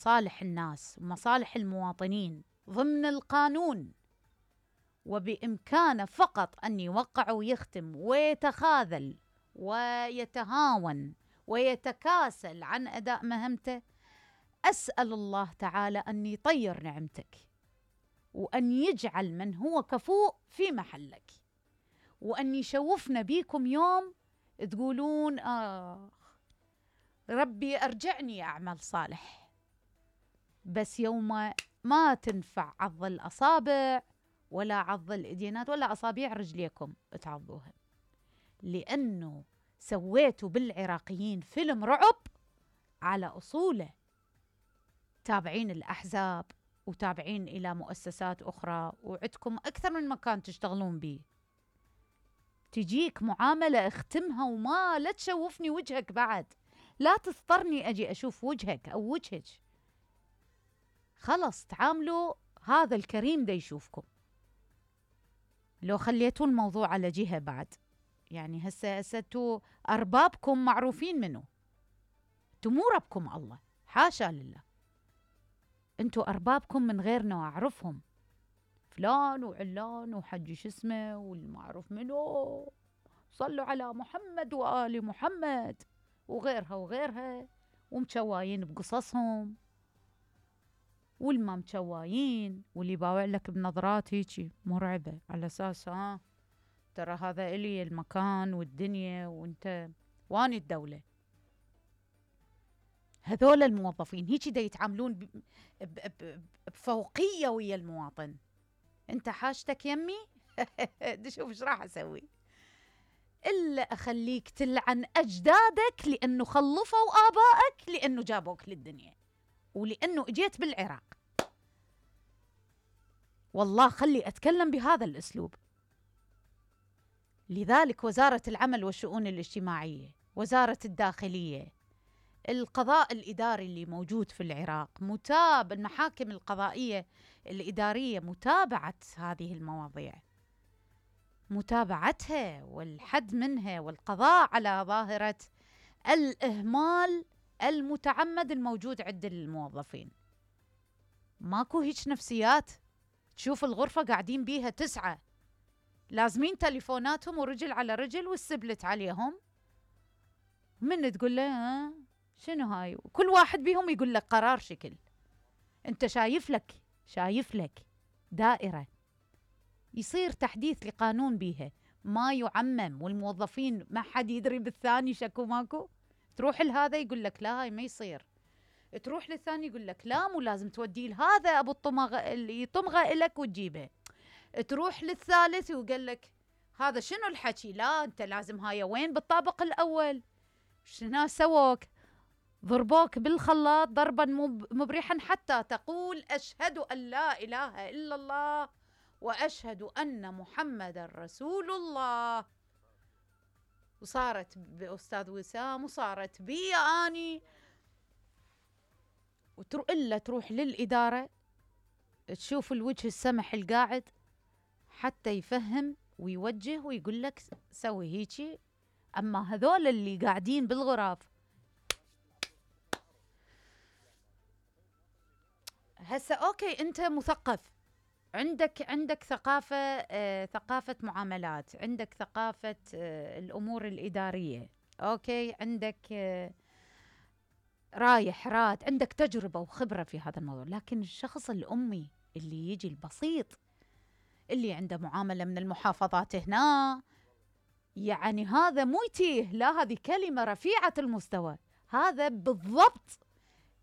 مصالح الناس ومصالح المواطنين ضمن القانون، وبإمكانه فقط أن يوقع ويختم ويتخاذل ويتهاون ويتكاسل عن أداء مهمته، أسأل الله تعالى أن يطير نعمتك، وأن يجعل من هو كفؤ في محلك، وأن يشوفنا بيكم يوم تقولون ربي أرجعني أعمل صالح. بس يوم ما تنفع عض الأصابع ولا عض الإيدينات ولا أصابيع رجليكم تعضوها، لأنه سويتوا بالعراقيين فيلم رعب على أصوله، تابعين الأحزاب وتابعين إلى مؤسسات أخرى، وعندكم أكثر من مكان تشتغلون به. تجيك معاملة اختمها وما لا تشوفني وجهك بعد، لا تضطرني أجي أشوف وجهك أو وجهك. خلص تعاملوا هذا الكريم دا يشوفكم. لو خليتوا الموضوع على جهة بعد، يعني هسه أربابكم معروفين منه، مو ربكم الله، حاشا لله. انتوا أربابكم من غيرنا وأعرفهم، فلان وعلان وحج شو اسمه والمعروف منه، صلوا على محمد وآل محمد وغيرها وغيرها، ومشوايين بقصصهم، والما مشوايين، واللي باوع لك بنظرات هيجي مرعبة على أساس ترى هذا إلي المكان والدنيا وانت واني الدولة. هذول الموظفين هيجي دا يتعاملون بفوقية ويا المواطن. انت حاجتك يمي دي شوف ايش راح اسوي، الا اخليك تلعن اجدادك لانه خلفوا ابائك، لانه جابوك للدنيا، ولانه اجيت بالعراق. والله خلي اتكلم بهذا الاسلوب. لذلك وزارة العمل والشؤون الاجتماعية، وزارة الداخلية، القضاء الإداري اللي موجود في العراق، المحاكم القضائية الإدارية، متابعة هذه المواضيع، متابعتها والحد منها، والقضاء على ظاهرة الإهمال المتعمد الموجود عند الموظفين. ماكو هيك نفسيات تشوف الغرفة قاعدين بيها 9 لازمين تليفوناتهم ورجل على رجل والسبلت عليهم، من تقول له شنو هاي، كل واحد بيهم يقول لك قرار شكل. انت شايف لك دائرة يصير تحديث لقانون بيها، ما يعمم، والموظفين ما حد يدري بالثاني شكو ماكو. تروح لهذا يقول لك لا هاي ما يصير، تروح للثاني يقول لك لا مو لازم توديه لهذا ابو الطمغه اللي يطمغه لك وتجيبه، تروح للثالث ويقول لك هذا شنو الحكي، لا انت لازم هاي وين بالطابق الاول. شنو سووك؟ ضربوك بالخلاط ضربا مبرحا حتى تقول أشهد أن لا إله إلا الله وأشهد أن محمد رسول الله. وصارت بأستاذ وسام وصارت بي أني، إلا تروح للإدارة تشوف الوجه السمح القاعد حتى يفهم ويوجه ويقول لك سوي هيجي. أما هذول اللي قاعدين بالغرف هسه أوكي، أنت مثقف، عندك ثقافة معاملات، عندك ثقافة الأمور الإدارية، أوكي، عندك رايح راد، عندك تجربة وخبرة في هذا الموضوع. لكن الشخص الأمي اللي يجي البسيط اللي عنده معاملة من المحافظات هنا، يعني هذا مو يتيه، لا هذه كلمة رفيعة المستوى، هذا بالضبط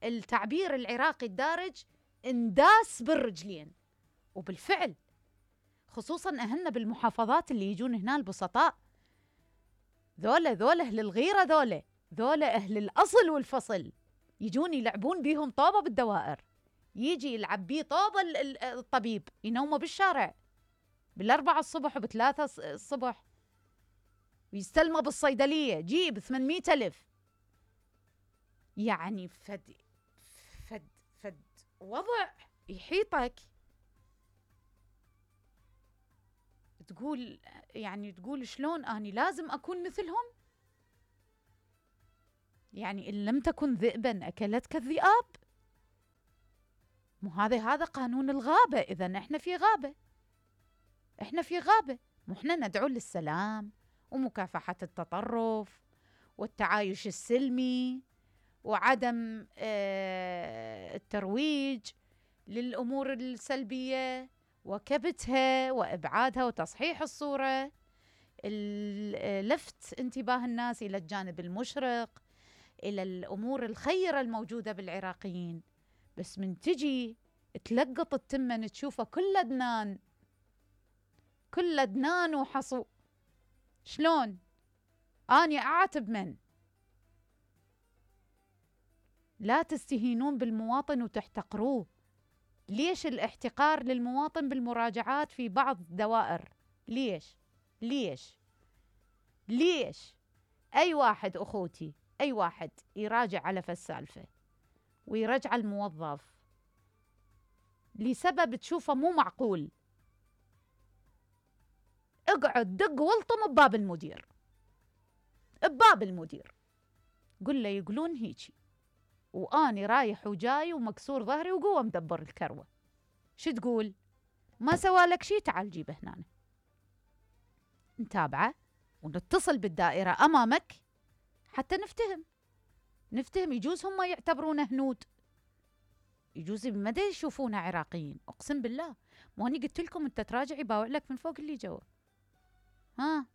التعبير العراقي الدارج، انداس بالرجلين. وبالفعل خصوصا أهلنا بالمحافظات اللي يجون هنا البسطاء، ذولا أهل الغيرة، ذولا أهل الأصل والفصل، يجون يلعبون بيهم طوبة بالدوائر، يجي يلعب بيه طوبة الطبيب، ينومه بالشارع 4 الصبح و3 الصبح، ويستلمه بالصيدلية جيب 800,000. يعني فد وضع يحيطك، تقول شلون أني لازم أكون مثلهم؟ يعني إن لم تكن ذئبا أكلتك الذئاب. مو هذا قانون الغابة. إذن إحنا في غابة، إحنا في غابة، مو إحنا ندعو للسلام ومكافحة التطرف والتعايش السلمي وعدم الترويج للأمور السلبية وكبتها وإبعادها وتصحيح الصورة، لفت انتباه الناس إلى الجانب المشرق، إلى الأمور الخيرة الموجودة بالعراقيين. بس من تجي تلقط التمن تشوفه كله دنان، كله دنان وحصو. شلون؟ أني أعاتب من؟ لا تستهينون بالمواطن وتحتقروه. ليش الاحتقار للمواطن بالمراجعات في بعض الدوائر؟ ليش؟ ليش؟ ليش؟ أي واحد أخوتي، أي واحد يراجع على فالسالفة ويرجع الموظف لسبب تشوفه مو معقول، اقعد دق والطم بباب المدير، بباب المدير، قل له يقولون هيجي وأني رايح وجاي ومكسور ظهري وقوة مدبر الكروة. شو تقول؟ ما سوالك شي، تعال جيبه هنا. نتابعه ونتصل بالدائرة أمامك حتى نفتهم. يجوز هم يعتبرونه هنود، يجوز بمدى يشوفونه عراقيين. أقسم بالله مو أني قلت لكم أنت تراجع يباوع لك من فوق اللي جوا. ها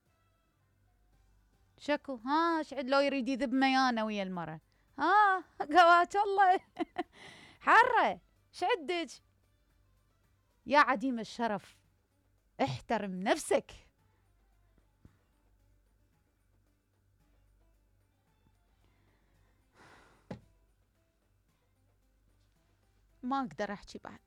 شكو؟ ها شعد لو يريد يذب ميانة ويا المرة. ها قوات الله حرة شعدك يا عديم الشرف، احترم نفسك. ما أقدر أحكي بعد.